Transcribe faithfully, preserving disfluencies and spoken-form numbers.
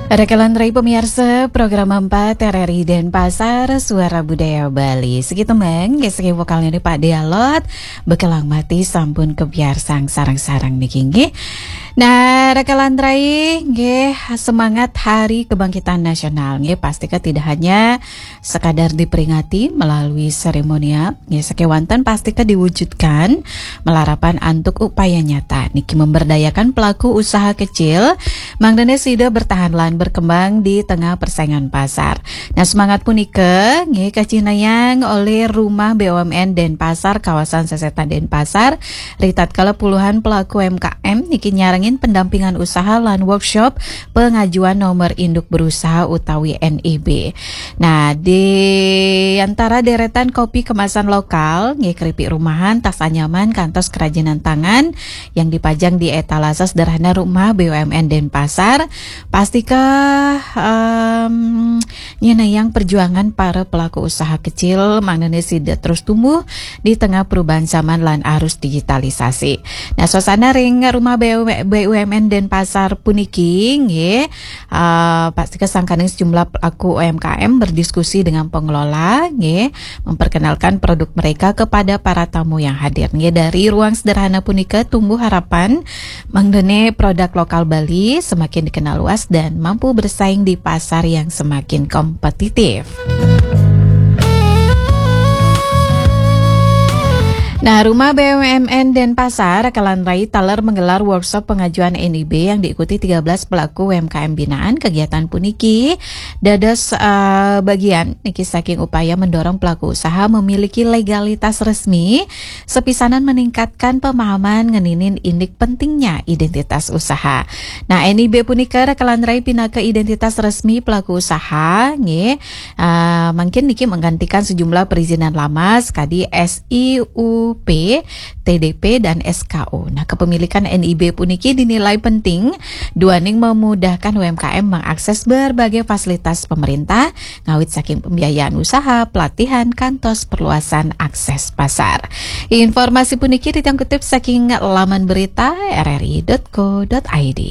Rakalan rai pamiarsa program empat R R I Denpasar, Suara Budaya Bali. Sigi temeng, nggih, sigi vokalnya ni Pak Dialot, Bekelang Mati Sampun Kebiarsang sareng-sareng niki, nggih. Nah, rakalan rai, nggih, semangat Hari Kebangkitan Nasional, nggih, pastika tidak hanya sekadar diperingati melalui seremonial, nggih, sakewanten pastika diwujudkan malarapan antuk upaya nyata niki memberdayakan pelaku usaha kecil, mangdane sida bertahan lan berkembang di tengah persaingan pasar. Nah, semangat punika nggih kacinayang oleh Rumah B U M N Denpasar, kawasan Sesetan Denpasar, ritatkala puluhan pelaku U M K M niki nyarengin pendampingan usaha lan workshop pengajuan nomor induk berusaha utawi N I B. Nah, di antara deretan kopi kemasan lokal, nggih, keripik rumahan, tas anyaman, kantos kerajinan tangan yang dipajang di etalase sederhana Rumah B U M N Denpasar, pastika, em, nyenayang perjuangan para pelaku usaha kecil, mangdane sida terus tumbuh di tengah perubahan zaman lan arus digitalisasi. Nah, suasana ring Rumah B U M, B U M N Denpasar puniki, nggih, eh, pastika sangkaning sejumlah pelaku U M K M berdiskusi dengan pengelola, nggih, memperkenalkan produk mereka kepada para tamu yang hadir, nggih. Dari ruang sederhana punika tumbuh harapan mangdane produk lokal Bali semakin dikenal luas dan mampu bersaing di pasar yang semakin kompetitif. Nah, Rumah B U M N Denpasar, rakalan rai, taler menggelar workshop pengajuan N I B yang diikuti tiga belas pelaku U M K M binaan. Kegiatan puniki dados, eh, bagian niki saking upaya mendorong pelaku usaha memiliki legalitas resmi, sepisanan meningkatkan pemahaman ngeninin indik pentingnya identitas usaha. Nah, N I B punika, rakalan rai, pinaka identitas resmi pelaku usaha, nggih. Ah, mangkin niki menggantikan sejumlah perizinan lama sekadi S I U P, T D P, dan S K U. Nah, kepemilikan N I B puniki dinilai penting duaning memudahkan U M K M mengakses berbagai fasilitas pemerintah, ngawit saking pembiayaan usaha, pelatihan, kantos perluasan akses pasar. Informasi puniki titiang kutip saking laman berita R R I dot co dot I D.